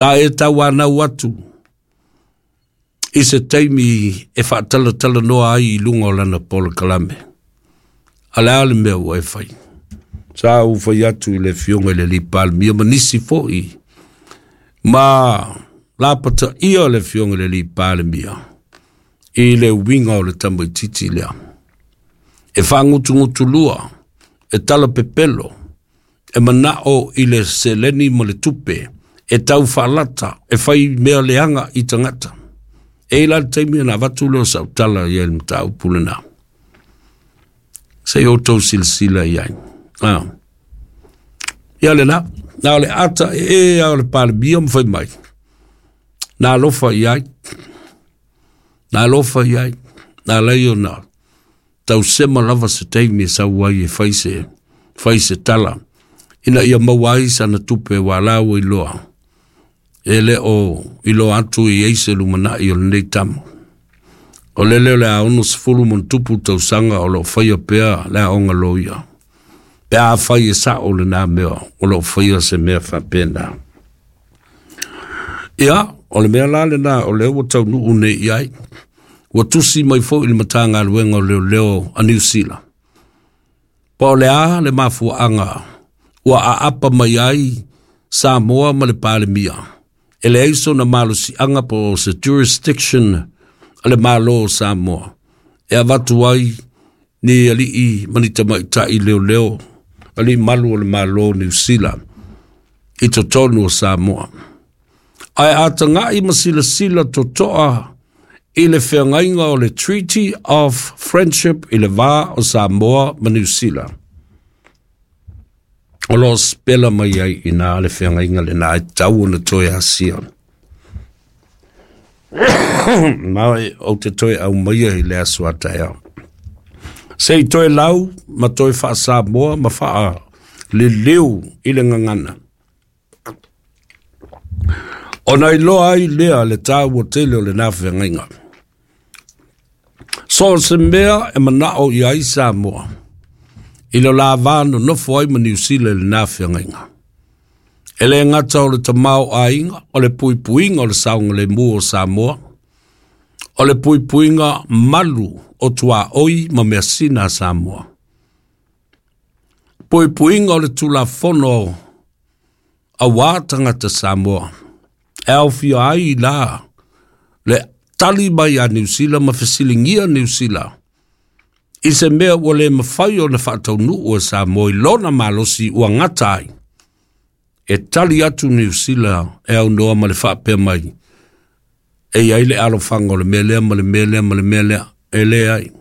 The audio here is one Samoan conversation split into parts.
Sa e tauanau atu i se taimi e faatalatalanoa ai i luga o lana polokalame. A le a le mea ua e fai? Sa ou fai atu i le afioga i le alii Palemia ma nisi foi ma lapataia le afioga i le alii Palemia i le uiga o le tamaitiiti lea. E faagutugutulua, e talapepelo, e manao i le seleni ma le tupe, e tau faalata, e fai mea leaga i tagata. E i la le taimi ona avatu lea o sau tala i ai le mataupu lena. Se i outou silasila i ai. Ah. Ia lena, na o le ata e e a o le Palemia ma fai mai. Na alofa i ai. Na alofa i ai. Na lai ona tausema lava se taimi e sau ai e fai se, fai se tala. Ina ia maua ai sana tupe ua la ua iloa. E le o iloa atu i ai se lumanai o lenei tama. O le leo le a 60+ tausaga o loo faia pea le aoga loia. Pe a fai e sao lena mea o loo faia se mea faapena. Ia, o le mea la lena o lea ua taunuu nei i ai. Ua tusi mai foi le Matagaluega o Leoleo a Niu Sila. Po o le a le mafuaaga ua aapa mai ai Samoa ma le Palemia. E leai sona malosiaga po o se jurisdiction a le Malo o Samoa. E avatu ai ni alii ma ni tamaitai leoleo, alii malu o le Malo o Niu Sila i totonu o Samoa. Ae a tagai ma silasila totoa i le feagaiga o le Treaty of Friendship i le va o Samoa ma Niu Sila. O lo o sepela mai ai i nā le feagaiga lena e tatau ona toe asia. Ma ou te toe aumaia i le aso a taeao. Se i toe lau ma toe faa-Samoa ma faaliliu i le gagana. Ona iloa ai lea le taua tele o lena feagaiga. So o se mea e manao i ai Samoa, i le la va nonofo ai ma Niu Sila i lena feagaiga. E le gata o le tamaoaiga, o le puipuiga o le saogalemu o Samoa, o le puipuiga malu o tuaoi ma measina a Samoa. Puipuiga o le Tulafono auā tagata Samoa. E aofia ai la le tali mai a Niu Sila ma fesiligia Niu Sila i se mea ua le mafai ona faataunuu e Samoa i lona malosi ua gata ai. E tali atu Niu Sila e aunoa ma le faapea mai, e i ai le alofaga o le mea lea ma le mea lea ma le mea lea, e leai.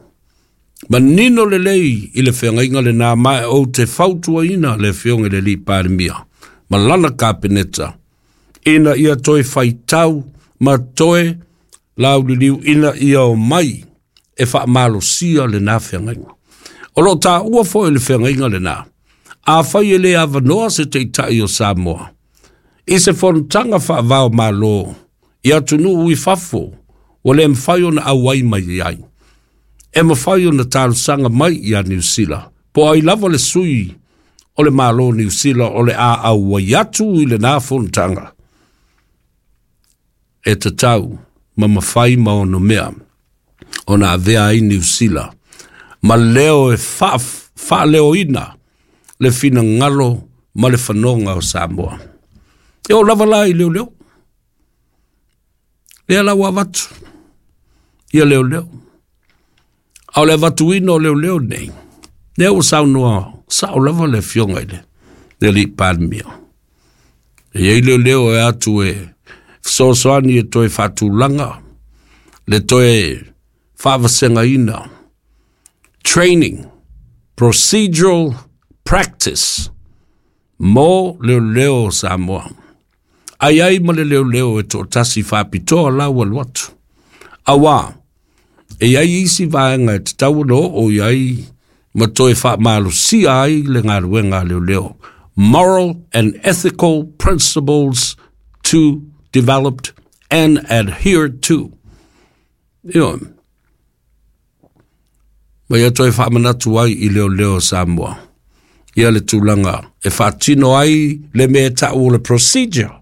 Manino lelei i le feagaiga lena ma e ou te fautuaina le afioga i le alii Palemia ma lana Kapeneta ina ia toe faitau ma toe lauliliu ina ia omai e faamalosia lena feagaiga. O lo o taua foi le feagaiga lena, afai e le avanoa se taitai o Samoa i se fonotaga faavao Malo i atunuu i fafo ua le mafai ona auai mai ai, e mafai ona talosaga mai ia Niu Sila, po o ai lava le sui o le Malo o Niu Sila o le a auai atu i lena fonotaga, e tatau ma mafai ma ono mea ona avea ai Niu Sila ma leo e faaleoina le finagalo ma le fanoga o Samoa. E oo lava la i leoleo. Lea la ua avatu ia leoleo. A o le avatuina o leoleo nei, lea ua saunoa sao lava le afioga i le alii Palemia. E i ai leoleo e atu e fesoasoani e toe faatulaga, le toe faavasegaina, training, procedural practice mo leoleo o Samoa. Ai ai ma le leoleo e toatasi faapitoa la ua alu atu. Auā, e i ai isi vaega e tatau ona oo i ai ma toe faamalosia ai le galuega a leoleo. Moral and ethical principles to developed and adhered to. Ioe. Ma ia toe faamanatu ai i leoleo o Samoa ia le tulaga e faatino ai le mea e tau o le procedure.